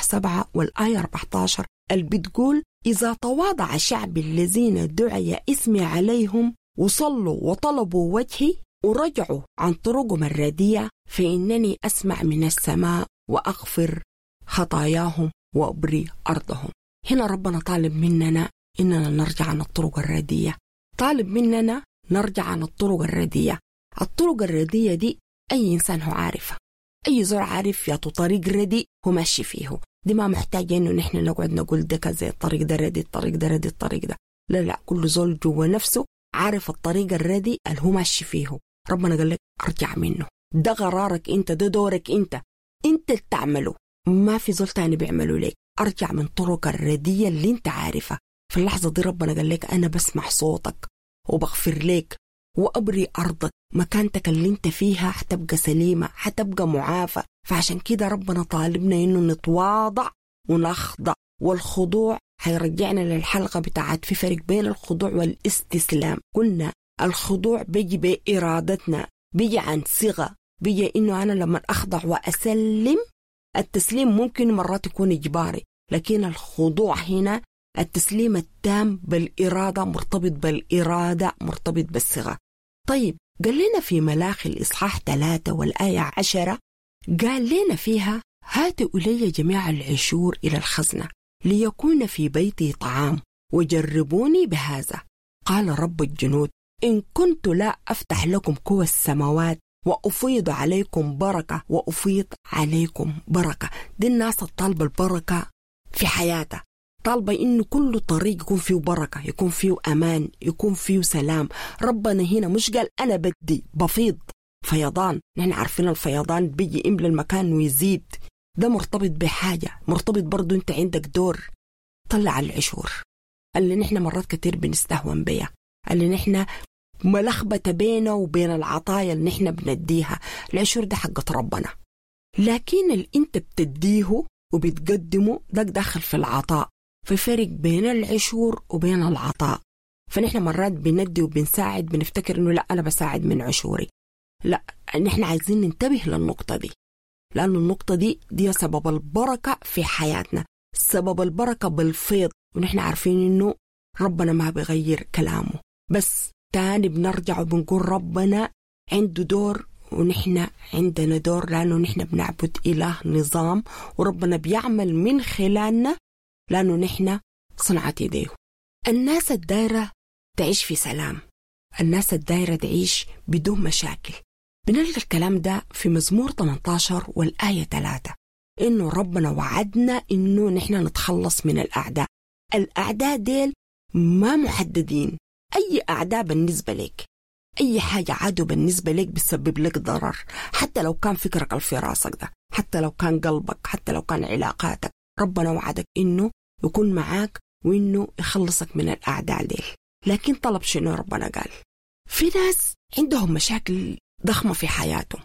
7 والآية 14 اللي بتقول إذا تواضع شعبي الذين دعي اسمي عليهم وصلوا وطلبوا وجهي ورجعوا عن طرقهم الرديئة فإنني أسمع من السماء وأغفر خطاياهم وأبري أرضهم. هنا ربنا طالب مننا إننا نرجع عن الطرق الرديئة، طالب مننا نرجع عن الطرق الرديئة. الطرق الرديئة دي أي إنسان هو عارفها، أي زول عارف يا طريق رديء هو ماشي فيه، دي ما محتاجة إنه نحن نقعد نقول ده كذا، الطريق ده ردي، الطريق ده ردي، الطريق ده لا لا، كل زول جوا نفسه عارف الطريق الردي اللي هو ماشي فيه. ربنا قال لك ارجع منه، ده قرارك انت، ده دورك انت، انت اللي تعمله، ما في زول تاني بيعمله لك. ارجع من طرق الردية اللي انت عارفها. في اللحظة دي ربنا قال لك انا بسمع صوتك وبغفر لك وابري ارضك، مكانتك اللي انت فيها حتبقى سليمة، حتبقى معافى. فعشان كده ربنا طالبنا انه نتواضع ونخضع، والخضوع حيرجعنا للحلقة بتاعت في فرق بين الخضوع والاستسلام. قلنا الخضوع بيجي بإرادتنا، بيجي عن صيغة، بيجي إنه أنا لما أخضع وأسلم. التسليم ممكن مرات يكون إجباري، لكن الخضوع هنا التسليم التام بالإرادة، مرتبط بالإرادة، مرتبط بالصيغة. طيب قال لنا في ملاخي الإصحاح 3 والآية 10 قال لنا فيها هاتوا إلي جميع العشور إلى الخزنة ليكون في بيتي طعام وجربوني بهذا قال رب الجنود إن كنت لا أفتح لكم كوى السماوات وأفيض عليكم بركة وأفيض عليكم بركة. دي الناس الطالبة البركة في حياتها، طالبة إنه كل طريق يكون فيه بركة، يكون فيه أمان، يكون فيه سلام. ربنا هنا مش قال أنا بدي بفيض فيضان، نحن عارفين الفيضان بيجي يملى المكان ويزيد، ده مرتبط بحاجة، مرتبط برضو أنت عندك دور. طلع العشور اللي نحن مرات كتير بنستهون بيها، اللي نحن ملخبطة بينه وبين العطايا اللي نحن بنديها. العشور ده حقة ربنا، لكن اللي انت بتديه وبتقدمه ده داخل في العطاء. في فرق بين العشور وبين العطاء. فنحن مرات بندي وبنساعد، بنفتكر انه لا انا بساعد من عشوري، لا، نحن عايزين ننتبه للنقطة دي، لأن النقطة دي سبب البركة في حياتنا، سبب البركة بالفيض. ونحن عارفين إنه ربنا ما بيغير كلامه، بس تاني بنرجع وبنقول ربنا عنده دور ونحن عندنا دور، لأنه نحن بنعبد إله نظام، وربنا بيعمل من خلالنا لأنه نحن صنعة يديه. الناس الدايرة تعيش في سلام، الناس الدايرة تعيش بدون مشاكل. بنلقى الكلام ده في مزمور 18 والآية 3، إنه ربنا وعدنا إنه نحن نتخلص من الأعداء. الأعداء ديل ما محددين، أي أعداء بالنسبة لك، أي حاجة عدو بالنسبة لك بتسبب لك ضرر، حتى لو كان فكرك في راسك ده، حتى لو كان قلبك، حتى لو كان علاقاتك. ربنا وعدك إنه يكون معاك وإنه يخلصك من الأعداء ديل. لكن طلب شنو ربنا قال؟ في ناس عندهم مشاكل ضخمة في حياتهم،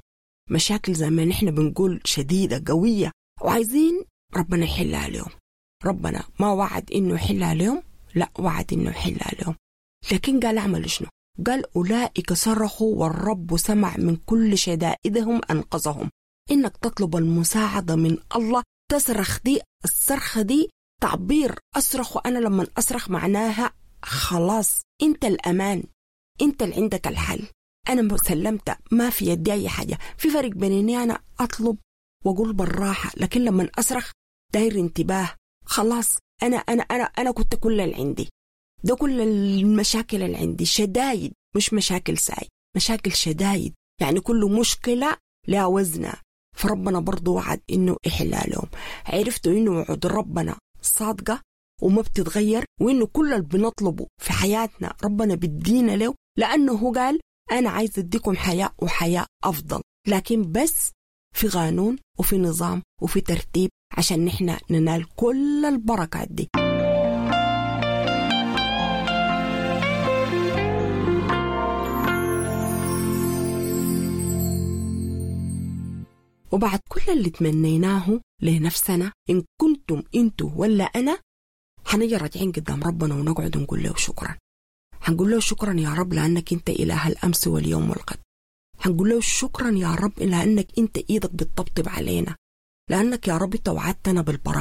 مشاكل زي ما نحن بنقول شديدة قوية، وعايزين ربنا يحلها لهم. ربنا ما وعد إنه يحلها لهم، لا، وعد إنه يحلها لهم، لكن قال اعملوا شنو؟ قال أولئك صرخوا والرب سمع من كل شدائدهم أنقذهم. إنك تطلب المساعدة من الله، تصرخ، دي الصرخة دي تعبير، أصرخ وأنا لما أصرخ معناها خلاص أنت الأمان، أنت اللي عندك الحل، أنا سلمت، ما في يدي أي حاجة. في فرق بين إني أنا أطلب وأقول بالراحة، لكن لما أصرخ داير انتباه، خلاص أنا أنا أنا أنا كنت كل اللي عندي ده، كل المشاكل اللي عندي شدايد، مش مشاكل ساي، مشاكل شدايد، يعني كل مشكلة لها وزنها. فربنا برضو وعد إنه يحلها لهم. عرفتوا إنه وعد ربنا صادقة وما بتتغير، وإنه كل اللي بنطلبه في حياتنا ربنا بيدينا له، لأنه هو قال أنا عايز أديكم حياة وحياة أفضل، لكن بس في قانون وفي نظام وفي ترتيب عشان نحن ننال كل البركات دي. وبعد كل اللي تمنيناه لنفسنا، إن كنتم أنتوا ولا أنا، حنجي راجعين قدام ربنا ونقعد ونقول له شكرا. حنقول له شكرا يا رب لأنك أنت إله الأمس واليوم والغد. حنقول له شكرا يا رب لأنك أنت إيدك بتطبطب علينا، لأنك يا رب توعدتنا بالبركة.